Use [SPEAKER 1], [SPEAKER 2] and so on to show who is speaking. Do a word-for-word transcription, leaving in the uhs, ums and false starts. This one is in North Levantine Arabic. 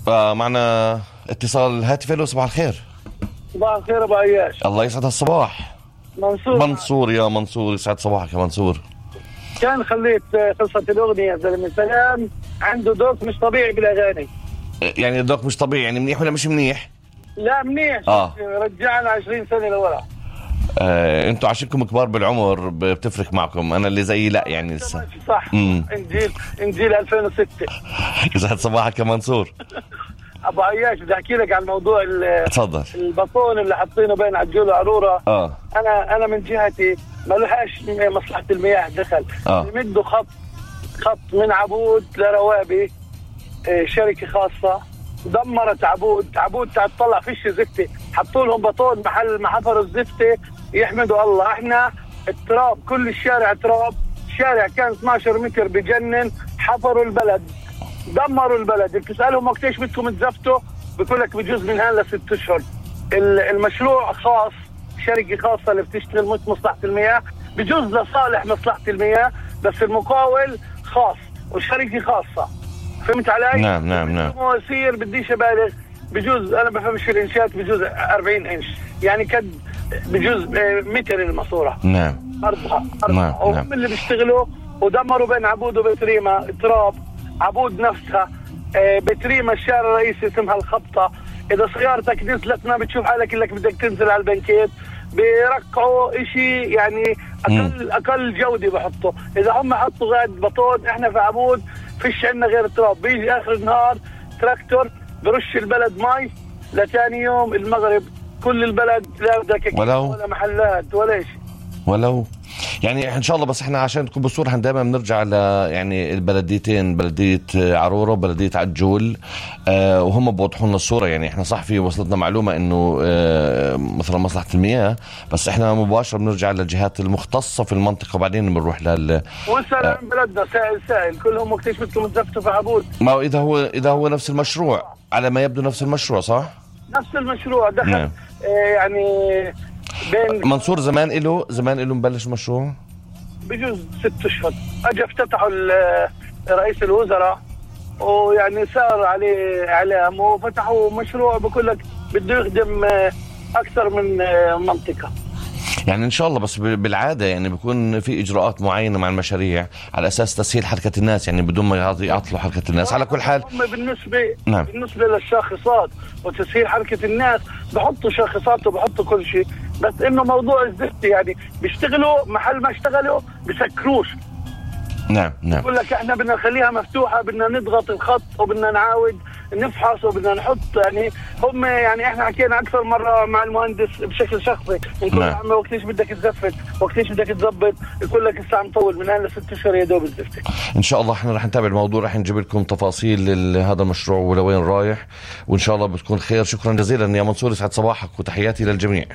[SPEAKER 1] فمعنا اتصال هاتفي. له صباح الخير.
[SPEAKER 2] صباح الخير ابو عياش.
[SPEAKER 1] الله يسعد هالصباح.
[SPEAKER 2] منصور
[SPEAKER 1] منصور يا منصور، يسعد صباحك يا منصور.
[SPEAKER 2] كان خليت قصة الأغنية زلمة سلام عنده ذوق مش طبيعي بالأغاني.
[SPEAKER 1] يعني ذوق مش طبيعي، يعني منيح ولا مش منيح؟
[SPEAKER 2] لا منيح.
[SPEAKER 1] آه.
[SPEAKER 2] رجعنا عشرين سنة لورا.
[SPEAKER 1] آه، انتوا عشانكم كبار بالعمر بتفرق معكم، انا اللي زيي لا يعني لسه.
[SPEAKER 2] صح.
[SPEAKER 1] مم.
[SPEAKER 2] انجيل انجيل ألفين وستة.
[SPEAKER 1] يسعد صباحك يا منصور.
[SPEAKER 2] ابو عياش بدي احكي لك عن موضوع
[SPEAKER 1] تفضل.
[SPEAKER 2] البطون اللي حاطينه بين عجول وعروره.
[SPEAKER 1] اه
[SPEAKER 2] انا انا من جهتي ما لهاش مصلحه المياه دخل.
[SPEAKER 1] اه
[SPEAKER 2] يمدوا خط خط من عبود لروابي، شركه خاصه دمرت عبود. عبود تطلع فيش زفته، حطوا لهم بطون محل ما حفروا الزفته. يحمدوا الله. احنا التراب كل الشارع تراب. شارع كان اثناشر متر بجنن. حفروا البلد، دمروا البلد. بتسألهم وقتيش بدكم تزفتوا، بقول لك بجوز من هلا ست اشهر. المشروع خاص، شركه خاصه اللي بتشتغل مش مصلحه المياه، بجوز لصالح مصلحه المياه، بس المقاول خاص وشركه خاصه. فهمت علي؟
[SPEAKER 1] نعم نعم نعم.
[SPEAKER 2] مواسير بديش ابالغ، بجوز انا بفهمش في الانشاءات، بجوز أربعين انش، يعني كد بجوز متر الماسوره.
[SPEAKER 1] نعم.
[SPEAKER 2] ارضها
[SPEAKER 1] نعم
[SPEAKER 2] هم
[SPEAKER 1] نعم.
[SPEAKER 2] اللي بيشتغلوا ودمروا بين عبود وبتريمه تراب. عبود نفسها بتريمه الشارع الرئيسي اسمها الخبطه. اذا سيارتك نزلت ما بتشوف حالك الا بدك تنزل على البنكيت. بيرقعوا اشي يعني اقل م. اقل جوده بحطوا. اذا هم حطوا غاد بطون، احنا في عبود فيش عندنا غير تراب. بيجي اخر النهار تراكتور برش البلد مي، لتاني يوم المغرب كل البلد لا بدك ولا محلات ولا شيء.
[SPEAKER 1] ولو يعني ان شاء الله. بس احنا عشان تكون بالصوره احنا دائما بنرجع ل يعني البلديتين، بلديه عروره وبلديه عجول، آه وهم بوضحوا لنا الصوره. يعني احنا صح في وصلتنا معلومه انه آه مثلا مصلحه المياه، بس احنا مباشره بنرجع للجهات المختصه في المنطقه وبعدين بنروح لل
[SPEAKER 2] وسال آه بلدنا سائل سائل كلهم وقتيش بدكم تزفتوا في عبود.
[SPEAKER 1] ما هو اذا هو اذا هو نفس المشروع، على ما يبدو نفس المشروع صح؟
[SPEAKER 2] نفس المشروع دخل.
[SPEAKER 1] نعم.
[SPEAKER 2] آه يعني بين
[SPEAKER 1] منصور زمان له زمان له مبلش المشروع
[SPEAKER 2] بجوز ست اشهر. اجى افتتحوا رئيس الوزراء ويعني صار عليه اعلام وفتحوا مشروع بقول لك بده يخدم اكثر من منطقه.
[SPEAKER 1] يعني ان شاء الله. بس بالعاده يعني بيكون في اجراءات معينه مع المشاريع على اساس تسهيل حركه الناس، يعني بدون ما يعطلوا حركه الناس. على كل حال
[SPEAKER 2] هم بالنسبه
[SPEAKER 1] نعم.
[SPEAKER 2] بالنسبه للشاخصات وتسهيل حركه الناس بحطوا شاخصات وبحطوا كل شيء، بس انه موضوع الزفت يعني بيشتغلوا محل ما اشتغلوا بسكروش.
[SPEAKER 1] نعم نعم.
[SPEAKER 2] بقول لك احنا بدنا نخليها مفتوحه، بدنا نضغط الخط وبدنا نعاود نفحص وبدنا نحط. يعني هم يعني احنا حكينا اكثر مره مع المهندس بشكل شخصي، نقول له عمي وقتيش بدك تزفت، وقتيش بدك تظبط، يقول لك لسه عم طول من هلا ست اشهر يا دوب الزفت.
[SPEAKER 1] ان شاء الله احنا رح نتابع الموضوع، رح نجيب لكم تفاصيل هذا المشروع ولوين رايح، وان شاء الله بتكون خير. شكرا جزيلا يا منصور، يسعد صباحك وتحياتي للجميع.